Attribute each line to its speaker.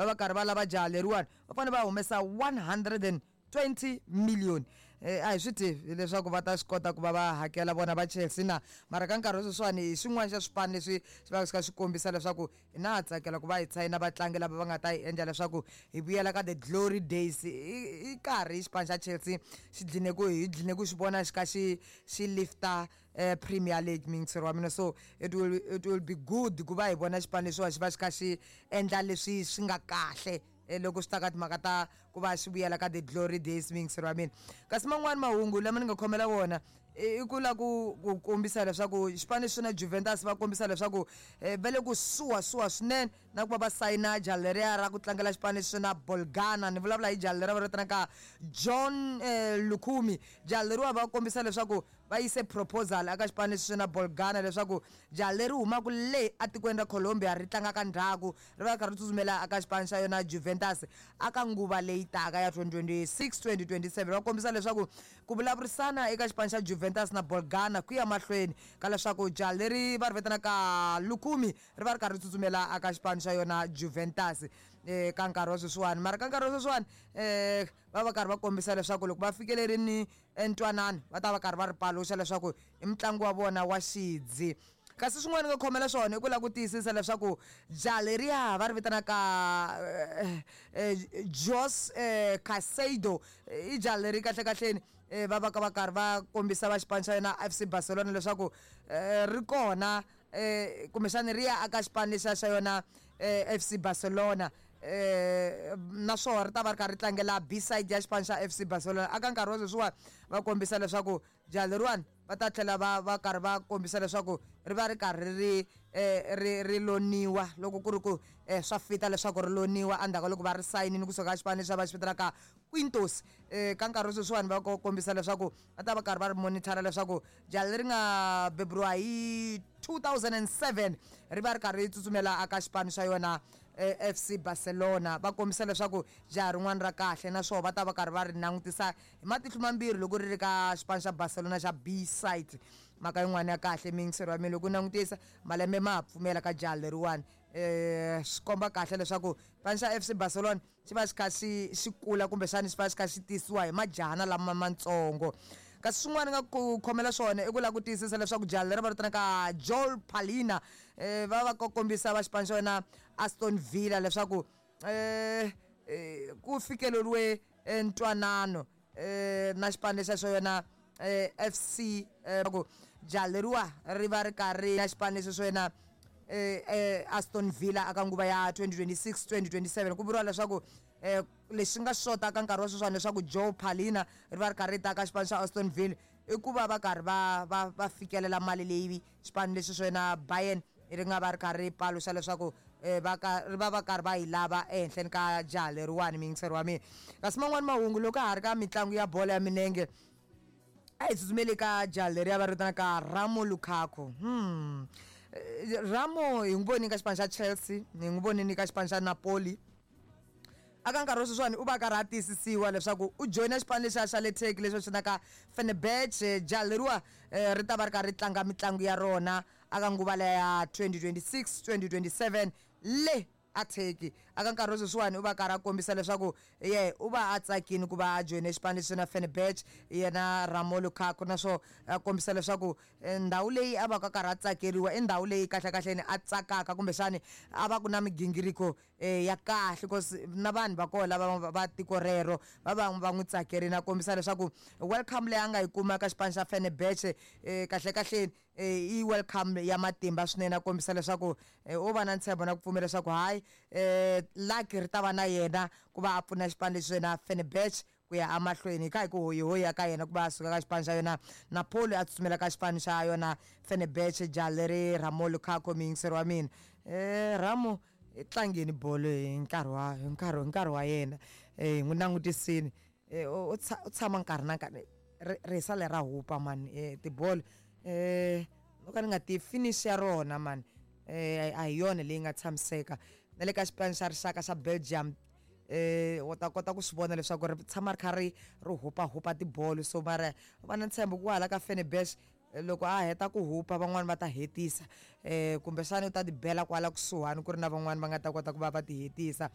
Speaker 1: va va karhi va lava jaha leriwani, va fanele va humesa 120 million. A hi swi tivi leswaku va ta swi kota ku va va hakela vona va Chelsea na, mara ka nkarhi wa sweswiwani hi xin'wana xa swipano leswi swi va swi kha swi kombisa leswaku hi na ha tsakela ku va hi sayina vatlangi lava va nga ta hi endla leswaku hi vuyela ka the glory days. I karhi xipano xa Chelsea xi dline ku hi dline ku xi vona xi kha xi lifta Premier League, miyingiseri wa mina. So it will be good ku va hi vona xipano lexiwa xi va xi kha xi endla leswi swi nga kahle loko swi ta ka timhaka ta ku va xi vuyela ka the glory days, miyingiseri wa mina. Kasi man'wani mahungu lama ni nga khomela wona i ku la ku kombisa leswaku xipano lexi na Juventus va kombisa leswaku va le ku suwasuwa swinene na ku va va sayina jaha leriya ra ku tlangela xipano lexi na Bologna. Ni vulavula hi jaha leriya va ri vitanaka Jhon Lucumi. Jaha leriwa va kombisa leswaku va yise proposal aka xipano lexi na Bologna leswaku jaha leri humaka le atikweni ra Colombia, ri tlangaka ndzhaku, ri va ri karhi ri tsutsumela aka xipano xa yona Juventus aka nguva leyi taka ya 2026 2027. Va kombisa leswaku ku vulavurisana eka xipano xa Juventus na Bologna ku ya mahlweni ka leswaku jaha leri va ri vitanaka Lucumi ri va ri karhi ri tsutsumela aka xipano xa yona Juventus ka nkarhi wa sweswiwani. Mara ka nkarhi wa sweswiwani va va karhi va kombisa leswaku loko va fikelerini ntwanano, va ta va karhi va ri paluxa leswaku i mutlangi wa vona wa xidzi. Kasi swin'wana nga khomela swona i ku lava ku tiyisisa leswaku jaha leriya va ri vitanaka Jos Caicedo i jaha leri kahle kahleni va va ka va karhi va kombisa va xipano xa yona FC Barcelona leswaku ri kona, kumbexani ri ya aka xipano lexiya xa yona FC Barcelona, naswona ri ta va ri karhi ri tlangela B side ya xipano xa FC Barcelona. Aka nkarhi wa sweswiwani va kombisa leswaku jaha leriwani va ta tlhela va karhi va kombisa leswaku ri va ri karhi ri loniwa loko ku ri ku swa fita leswaku ri loniwa endzhaku ka loko va ri sayinini kusuka ka xipano lexi va xi vitanaka Quintos. Ka nkarhi wa sweswiwani va kombisa leswaku va ta va karhi va ri monitor leswaku jaha leri nga beburiwa hi 2007 ri va ri karhi ri tsutsumela aka xipano xa yona FC Barcelona. Va kombisa leswaku jaha rin'wana ra kahle, naswona va ta va karhi va ri langutisa hi matihlo mambirhi loko ri ri ka xipano xa Barcelona xa B side. Mhaka yin'wana ya kahle, miyingiseri wa mina, loko u langutisa malembe ma ha pfumela ka jaha leriwani, swi komba kahle leswaku xipano xa FC Barcelona xi va xi kha xi kula, kumbexani xi va xi kha xi tisiwa hi majahana lama matsongo. Kasi swin'wana nga ku khomela swona i ku lava ku tiyisisa leswaku jaha leri va vitanaka Joel Palina va va kombisa va xipano xa yona Aston Villa leswaku ku fikeleriwe ntwanano na xipano lexiya xa yona FC ku jaha leriwa ri va ri karhi na xipano lexi xo yena Aston Villa aka nguva ya 2026 2027. Ku vuriwa leswaku lexi nga xota ka nkarhi wa sweswiwani leswaku Joe Palina ri va ri karhi ri ta ka xipano xa Aston Villa i ku va va karhi va fikelela mali leyi xipano lexi xo yena Bayern ri nga va ri karhi ri paluxa leswaku va ka ri va va karhi va yi lava ehenhleni ka jaha leriwani, miyingiseri wa mina. Kasi man'wani mahungu, loko ha ri ka mitlangu ya bolo ya milenge, a hi tsutsumeli ka jaha leriya va ri vitanaka Ramo Lukaku. Ramo hi n'wi vonini ka xipano xa Chelsea, hi n'wi vonini ka xipano xa Napoli. Aka nkarhi wa sweswiwani u va karhi a tiyisisiwa leswaku u joyina xipano lexiya xa le Turkey lexi va xi vitanaka Fenerbahce. Jaha leriwa ri ta va ri karhi ri tlanga mitlangu ya rona aka nguva leya ya 2026 2027 le a Turkey. Aka nkarhi wa sweswiwani u va karhi a kombisa leswaku ye u va a tsakini ku va a joyine xipano lexi na Fenerbahce yena Ramo Lukaku, naswona a kombisa leswaku ndhawu leyi a va ka karhi a tsakeriwa i ndhawu leyi kahlekahleni a tsakaka, kumbexani a va ku na migingiriko ya kahle, cause na vanhu va kona lava va tiko rero va va n'wi tsakerini. A kombisa leswaku welcome leyi a nga yi kuma ka xipano xa Fenerbahce kahle kahleni i welcome ya matimba swinene. A kombisa leswaku u va na ntshembo na ku pfumela leswaku hayi, lucky ri ta va na yena ku va a pfuna xipano lexi yena Fenerbahce ku ya emahlweni. Hi kha hi ku hoyihoyi ka yena ku va a suka ka xipano xa yona Napoli a tsutsumela ka xipano xa yona Fenerbahce, jaha leri Ramo Lukaku, muyingiseri wa mina. Ramo i tlangeni bolo hi nkarhi wa yena, hi n'wi langutisini u tshama nkarhi na nkarhi rihisa lera hupa mani tibolo, no ka ni nga tivi finish ya rona mani, a hi yona leyi nga tshamiseka. Na le ka xipano xa rixaka xa Belgium u ta kota ku swi vona leswaku ri tshama ri kha ri hupahupa tibolo. So mara va na ntshembo ku hala ka Fenerbahce loko a heta ku hupa, van'wani va ta hetisa, kumbexana u ta ti bela kwala kusuhani ku ri na van'wani va nga ta kota ku va va ti hetisa.